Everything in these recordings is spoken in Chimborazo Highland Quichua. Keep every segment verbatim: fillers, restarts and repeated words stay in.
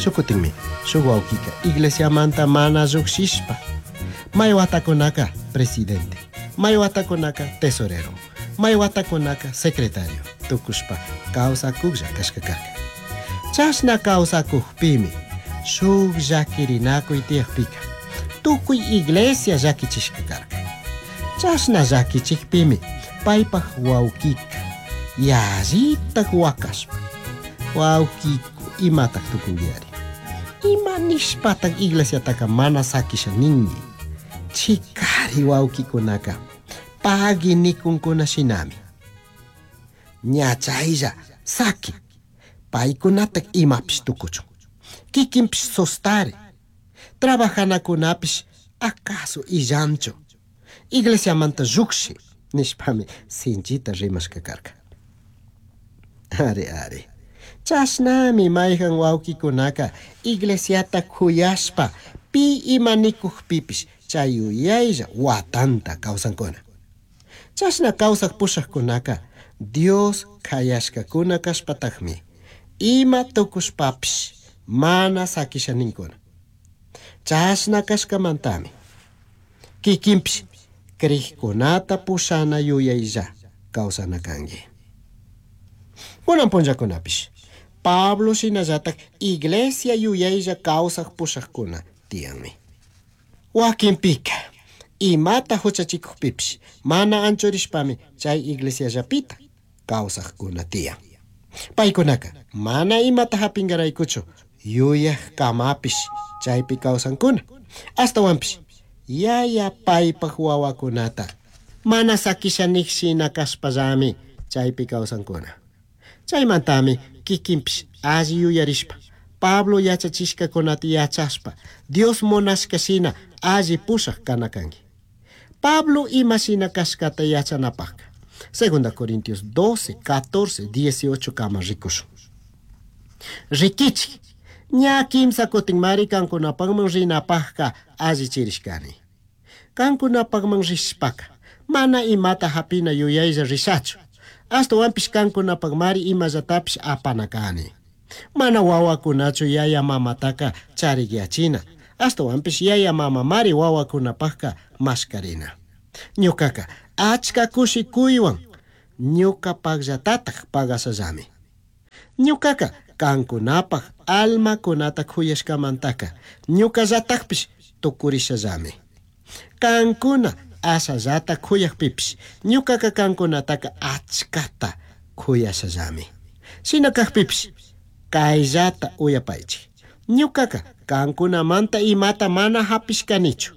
Shuk kutinmi shuk wawkika iglesiamanta mana llukshishpa may watakunaka presidente, may watakunaka tesorero, may watakunaka secretario tukushpa kawsakuklla kashka karka. Chashna kawsakukpimi shuk llakirinakuy tiyakpika tukuy iglesia llakichishka karka. Chashna llakichikpimi paypaj wawkika yallitak wakashpa wawkiku imatak tukunkiyari, ima nishpatak iglesiataka mana sakisha ninki, chikari wawkikunaka pagui nikunkuna shinami. Ña chaylla saki paykunatak imapish tukuchun, kikinpish sostari, trabajanakunapish acaso illanchu, iglesiamanta llukshi nishpami sinchita rimashka karka. Ari ari, chashnami mayhan wawkikunaka iglesiata kuyashpa pi ima nikukpipish chay yuyaylla watanta kawsankuna. Chashna kawsak pushakkunaka Dios kayashkakuna kashpatakmi ima tukushpapish mana sakisha ninkuna. Chashna kashkamantami kikinpish krikkunata pushana yuyaylla kawsana kanki. Kunan punllakunapish Pablo shinallatak iglesia yuyaylla kawsak pushakuna tiyanmi. Wakinpika imata huchachikukpipish mana anchurishpami chay iglesiallapita kawsakkuna tiyan. Paykunaka mana imata hapinkaraykuchu yuyak kamapish chaypi kawsankuna. Ashtawanpish yaya paypaj wawakunata mana sakisha nik shina kashpallami chaypi kawsankuna. Chaymantami kikinpish alli yuyarishpa Pablo yachachishkakunata yachashpa Dios munashka shina alli pushak kana kanki. Pablo ima shina kashkata yachanapajka Segunda Corintios doce, catorce, dieciocho kama rikushun. Rikichik, ña kimsa kutinmari kankunapakman rinapajka allichirishkani. Kankunapakman rishpaka mana imata hapina yuyaylla rishachu. Ashtawanpish kankunapakmari imallatapish apana kani. Mana wawakunachu yaya mamataka charikyachina. Ashtawanpish yaya mamamari wawakunapajka mashkarina. Ñukaka achka kushikuywan ñukapakllatataj pagashallami. Ñukaka kankunapaj almakunata kuyashkamantaka ñukallatakpish tukurishallami. Kankuna ashallata kuyakpipish ñukaka kankunataka achkata kuyashallami. Shina kakpipish kayllata uyapaychik. Ñukaka kankunamanta imata mana hapishkanichu.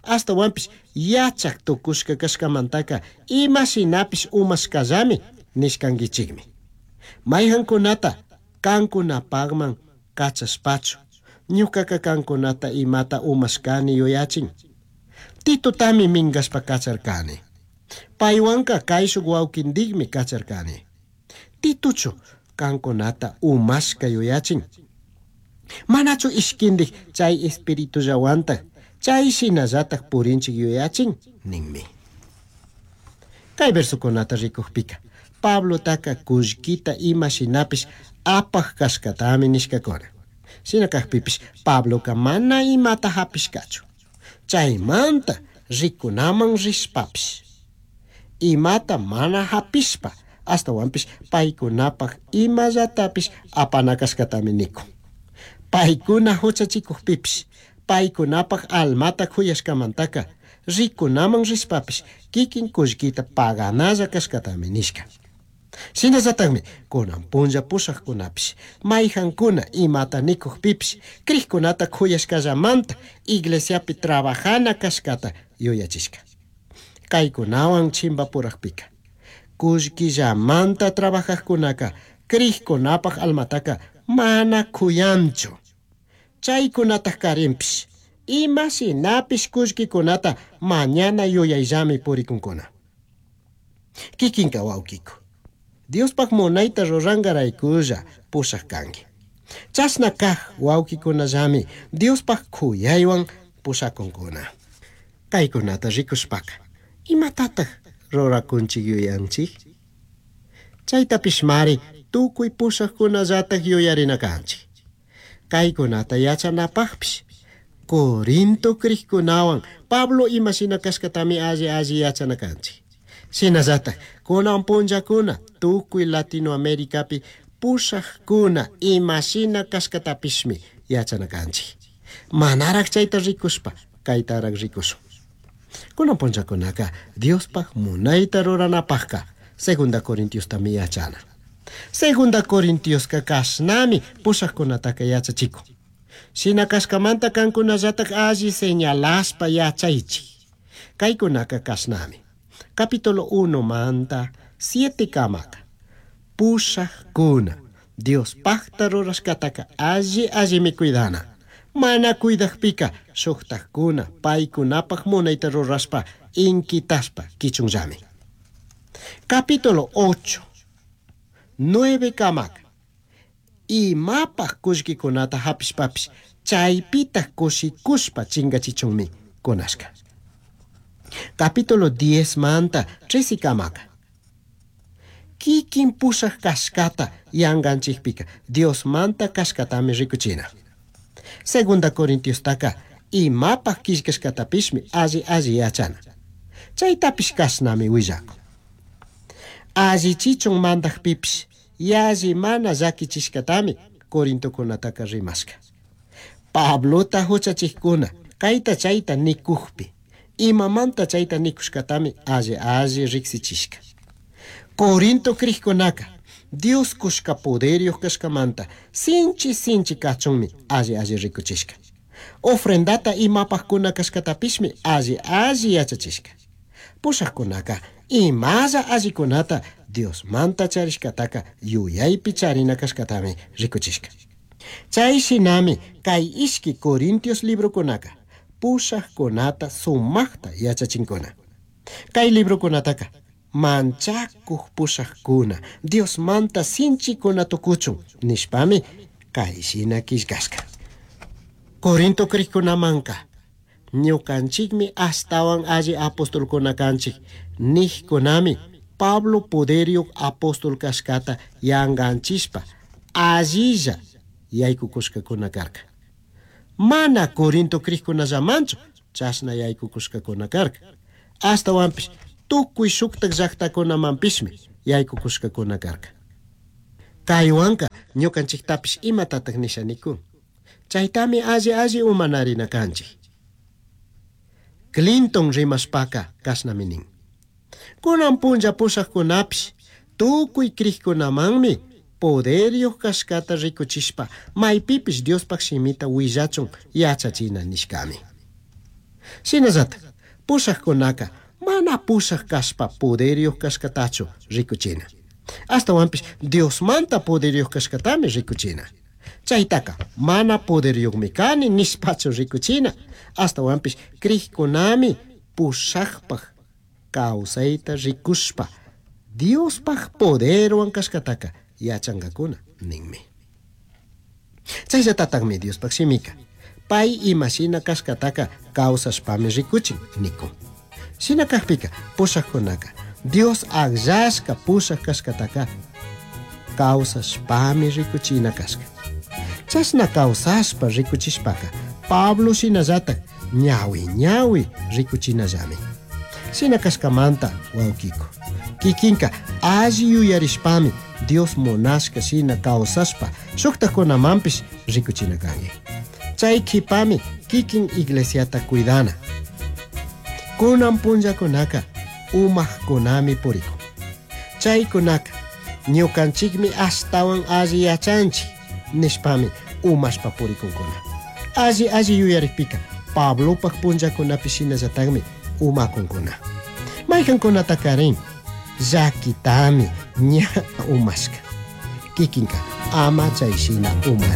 Ashtawanpish yachak tukushka kashkamantaka ima shinapish umashkallami nishkankichikmi. Mayhankunata kankunapakman kachashpachu ñukaka kankunata imata umashkani yuyachin. Titotami minkashpa kacharkani. Paywanka kayshuk wawkintikmi kacharkani. Tituchu kankunata umashka yuyachin. Manachu ishkindik chay espiritullawantak chay shinallatak purinchik yuyachin ninmi. Kay versokunata rikukpika Pablotaka kullkita ima shinapish apaj kashkatami nishkakuna. Shina kakpipish Pabloka mana imata hapishkachu. Chaymanta rikunaman rishpapish imata mana hapishpa ashtawanpish paykunapaj imallatapish apana kashkatami nikun. Paykuna huchachikukpipish paykunapaj almata kuyashkamantaka rikunaman rishpapish kikin kullkita paganalla kashkatami nishka. Shinallatakmi kunan punlla pushakkunapish mayhankuna imata nikukpipish krikkunata kuyashkallamanta iglesiapi trabajana kashkata yuyachishka. Kaykunawan chimpapurakpika kullkillamanta trabajajkunaka krikkunapaj almataka mana kuyanchu. Chaykunataj karinpish ima shinapish kullkikunata mañana yuyayllami purikunkuna. Kikinka wawkiku Diospaj munayta rurankaraykulla pushak kanki. Chashna kaj wawkikunallami Diospaj kuyaywan pushakunkuna. Kaykunata rikushpaka imatataj rurakunchik yuyanchik? Chaytapish mari tukuy pushakkunallatak yuyarina kanchik. Caicunata yachanapajpish Corinto crijcunahuan Pablo ima shina cashcatami alli alli yachana canchik. Shinallataj kunan punllakuna tukuy Latinoamericapi pushajkuna ima shina cashcatapishmi yachana canchik. Manaraj chayta rikushpa kaytaraj rikushun. Kunan punllakunaka Diospaj munayta ruranapajka Segunda Corintiostami yachana. Segunda Corintiosca kashnami pushajkunataka yachachikun. Shina kashkamanta kankunallatak alli señalashpa yachaychik. Kaykunaka kashnami. Capítulo uno manta siete kamaka. Pushajkuna Diospajta rurashkataka alli allimi cuidana. Mana cuidajpika shuktajkuna paykunapaj munayta rurashpa inkitashpa kichunllami. Capítulo ocho, nueve kamaka. Imapaj kullkikunata hapishpapish chaypitaj kushikushpa chingachichunmi kunashka. Capítulo diez manta trece kamaka. Kikin pushaj kashkata yanganchikpika Diosmanta kashkatami rikuchina. Segunda Corintiostaka imapaj killkashkatapishmi alli alli yachana. Chaytapish kashnami willakun. Allichichun mandajpipish yalli mana llakichishkatami Corintokunataka rimashka. Pablota huchachikkuna kayta chayta nikujpi imamanta chayta nikushkatami alli alli riksichishka. Corinto crijkunaka Dios kushka poderyuq kashkamanta sinchi sinchi kachunmi alli alli rikuchishka. Ofrendata imapajkuna kashkatapishmi alli alli yachachishka. Pushajkunaka imalla allikunata Diosmanta charishkataka yuyaypi charina kashkatami rikuchishka. Chay shinami kay ishki Corintios librokunaka pushajkunata sumaqta yachachinkuna. Kay librokunataka manchakuq pushajkuna Diosmanta sinchikuna tukuchun nishpami kay shina killkashka. Corinto crijkunamanka ñukanchikmi ashtawan alli apostolkuna kanchik nijkunami Pablo poderyuq apóstol kashkata yanganchishpa allilla yaykukushkakuna karka. Mana Corinto crijkunallamanchu chashna yaykukushkakuna karka. Ashtawanpish tukuy shuktak llaqtakunamanpishmi yaykukushkakuna karka. Kaywanka ñukanchiktapish imatataq nisha nikun. Chaytami alli alli umanarina kanchik. Clinton rimashpaka kashnami nin. Kunan punlla pushajkunapish tukuy crijkunamanmi poderyuq kashkata rikuchishpa maypipish Diospaj shimita willachun yachachina nishkami. Shinallatak pushajkunaka mana pushaj kashpa poderyuq kashkatachu rikuchina. Ashtawanpish Diosmanta poderyuq kashkatami rikuchina. Chaytaka mana poderyuqmi kani nishpachu rikuchina. Ashtawanpish crijkunami pushajpaj kawsayta rikushpa Diospaj poderwan kashkataka yachankakuna ninmi. Chayllatataqmi Diospaj shimika pay imashina kashkataka kawsashpami rikuchin nikun. Shina kajpika pushajkunaka Dios akllashka pushaj kashkataka kawsashpami rikuchina kashka. Chashna kawsashpa rikuchishpaka Pablo shinallatak ñawi ñawi rikuchinallami. Shina kashkamanta wawkiko kikinka alli yuyarishpami Dios munashka shina kawsashpa shuktakunamanpish rikuchina kanki. Chay kipami kikin iglesiata cuidana. Kunan punllakunaka umajkunami purikun. Chaykunaka ñukanchikmi ashtawan alli yachanchik nishpami umashpa purikunkuna. Alli alli yuyarikpika Pablopaj punllakunapi shinallatakmi umakunkuna. Maykankunatakarin llakitami ña umashka. Kikinka ama chay shina uma.